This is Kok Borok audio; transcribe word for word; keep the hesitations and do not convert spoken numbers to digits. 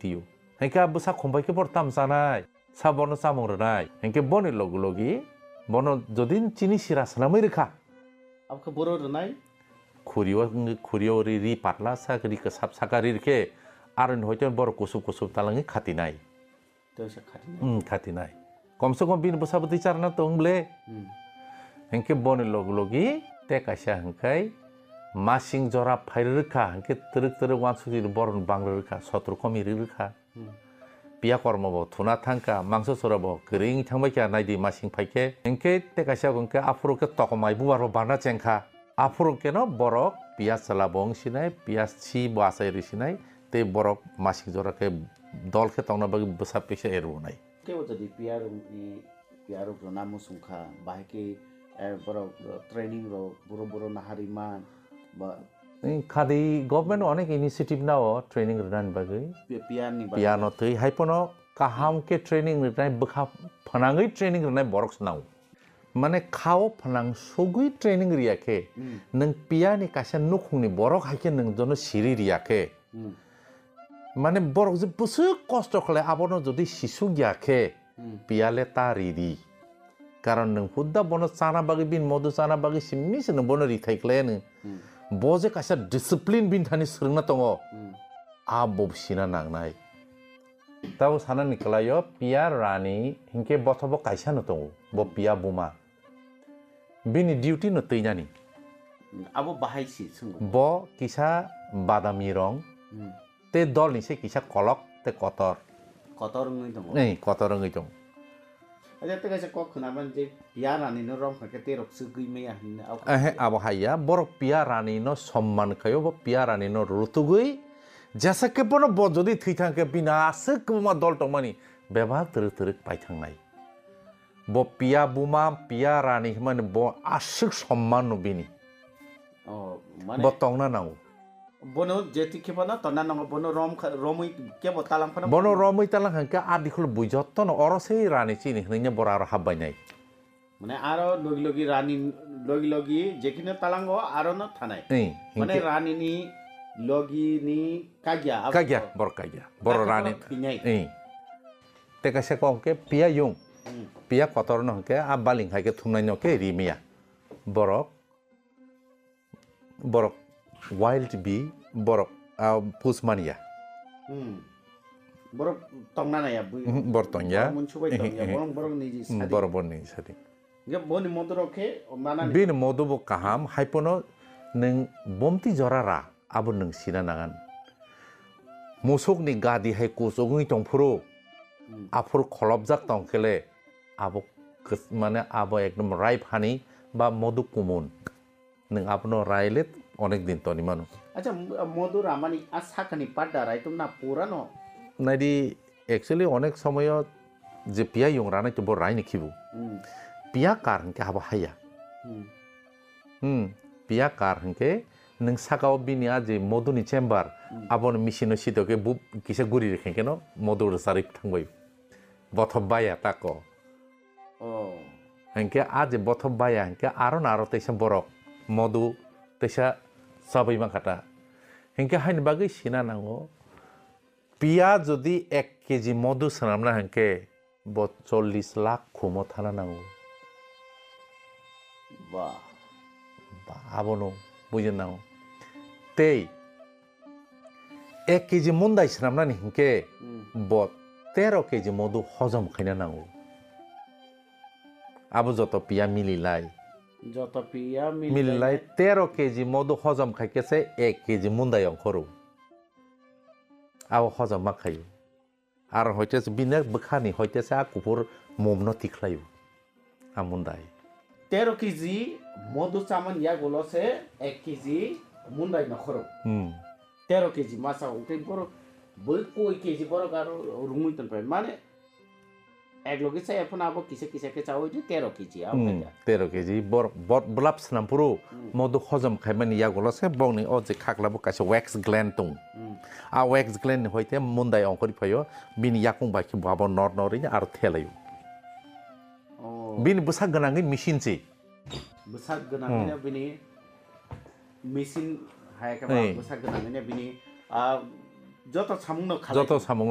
tio. Hinkhe a bwsa khumbai khe bor tam chanai, sa bono chamung rwnai. Hinkhe boni logi logi bono jodi chini sira swnamwi rwkha. Abokhe boro rwnai? Khurio, khurio ri, ri patla sak, ri kwsap saka ri rwkhe, aroni hoito bor kusup kusup talangwi khatinai. Tei se khatinai. Hmm, khatinai. Komse kom bini bwsa bwtwi charna tong ble. Hmm. Hinkhe boni log logi te kaisa hinkhai masing jora phai rwkha, hinkhe twrwk twrwk wansukjili borokni bang rwkha, sotro komi rwkha. Hmm. Piya kormo bo thuna thangkha, mangso sora bo kwrwi thangbai kha, naidi masing phaikhe. Hinkhe te kaisa hinkhe aphuru khe tokomai bubar bo bana chengkha. Aphuru keno borok piya chwla bo wng sinai, piya si bo achai rwi sinai, tei borok masing jora khe dol khe tongna bagwi bwsa pisa erwinai. Kebo jodi piya rwngni, piya rok rwna muchung kha, bahai khe, eh, borok, eh, training rok buro buro naharwi man ba. Khadi government onek initiative nao training rwnani bagwi. Pi-, piya ni bagwi. Piya no twi hai pono kaham khe training rwnai bwkha phnangwi training rwnai borok se nao. Mane khao phnang sugwi training riya khe, hmm, nwng piya ni kaisa nukhung ni borok hai khe nwng jono siri riya khe, hmm, mane borok je bwswk kosto khlai abono jodi sisuk ya khe, hmm, piya le ta ri di. Karon nwng hudda bono chana bagwi, bini modu chana bagwi simi se nwng bono rithai khlai nw. Hmm. Bo je kaisa discipline bini thani swrwngna tongo, hmm, abo sina nangnai. Tabo sanani kwlaio piya rani hinkhe bothobo kaisa no tongo, bo piya buma. Bini duty no twinani. Abo bahai si swngo. Bo kisa badami rong, hmm, tei dol ni se kisa kolok tei kotor. Kotor wngwi tongo. Ei, kotor wngwi tongo. Acha, tei kaisa kok khwnaman je piya rani no rong kha khe tei rok swgwi maya hinwi. Ehe, abo hai ya. Borok piya rani no somman khaio, bo piya rani no rutugwi jesa khe bono bo jodi thwi thang khe bini aswk kwbangma dol tongmani bebak twrwk twrwk pai thangnai. Bo piya buma, piya rani hwnmani bo aswk somman no bini. Oh, mane bo tongna nango. Bono jeti khe bono tonna nango, bono rom kha, romwi kebo talang phano. Bono romwi talang kha khe a dikholo bui jotto no oro se rani chini hwnwi bora aro habbai nai. Mane aro logi logi rani logi logi jekhino talango aro no thanai. Ei, mane hinkhe rani ni logi ni kagya abo. Kagya, bor kagya. Boro rani. Ei. Tei kaisa kok hwnkhe piya yung. Hmm. Piya kotor no hwnkhe a baling hai khe thumnai no khe ri maya. Borok, borok wild bee, borok, ah, pus manya. Hmm. Borok tongna naya bui. Mhm, bor tongya. Borok munsubai tongya. Mhm, mhm. Borok, borok niji sadi. Borok, borok niji sadi. Hingke boni modo rok khe manani. Bini modo bo kaham, hai pono nwng bomti jora ra, abo nwng sina nangan. Musuk ni gadi hai kuchugwi tongphuru, hmm, aphuru kholopjak tongkhele, abo kis-, mane abo ekdom ripe honey ba modo kumun. Nwng abono raile onek din toni mano. Acha, m-, modo ramani a sakani padda raitum na purano? Naidi, actually onek somoyo je piya yung ranai to bo raini khibu. Hmm. Piya kar hwnkhe abo haya. Hmm. Hmm. Piya kar hwnkhe nwng sakao bini a je moduni chamber, hmm, abono machine o sitoke bu kisa guri rikhe keno modo rwcharwi thangbai. Bothop baya tako. Oh. Hinkhe a je bothop baya hinkhe aro na aro teisa borok modu teisa chabai mankha ta. Hinkhe haini bagwi sina nango, piya jodi ek keji modu swnamna hinkhe bo chollish lakh khumo thana nango. Ba. Ba, abono bujina nango. Tei ek keji mundai swnamnani hinkhe, hmm, bo tero keji modu hojom khaina nango. Abo joto piya mililai. Joto piya mililai. Mililai tero keji modu hojom khaikhe se ek keji mundai ongkhoro. Abo hojom ma khaio. Aro hoite se bini bwkhani hoite se a kuphur mumno tikhlaio. A mundai. Tero keji modu chamani yagulo se ek keji mundai nokhoro. Hmm. Tero keji masa ungtwi borok bui koi keji borok aro rungwi tongpai. Mane ek logi chaya phano abo kisa kisa khe chawi di tero keji abo. Hmm, khaja. Tero keji bor-, bor-, bwlap swnam phuru, hmm, modu hojom khaimani yagulo se bongni o je khakla bo kaisa wax gland tong. Hmm. A wax gland ni hoite mundai ongkhorwi phaio, bini yakung bai khe bo abo nor nor aro thelaio. Oh. Bini bwsak gwnangwi machine se. Bwsak gwnangwi, hmm, bini machine hai khe ba, hey, bwsak gwnangwi bini, ah, joto samung no khalai. Joto samung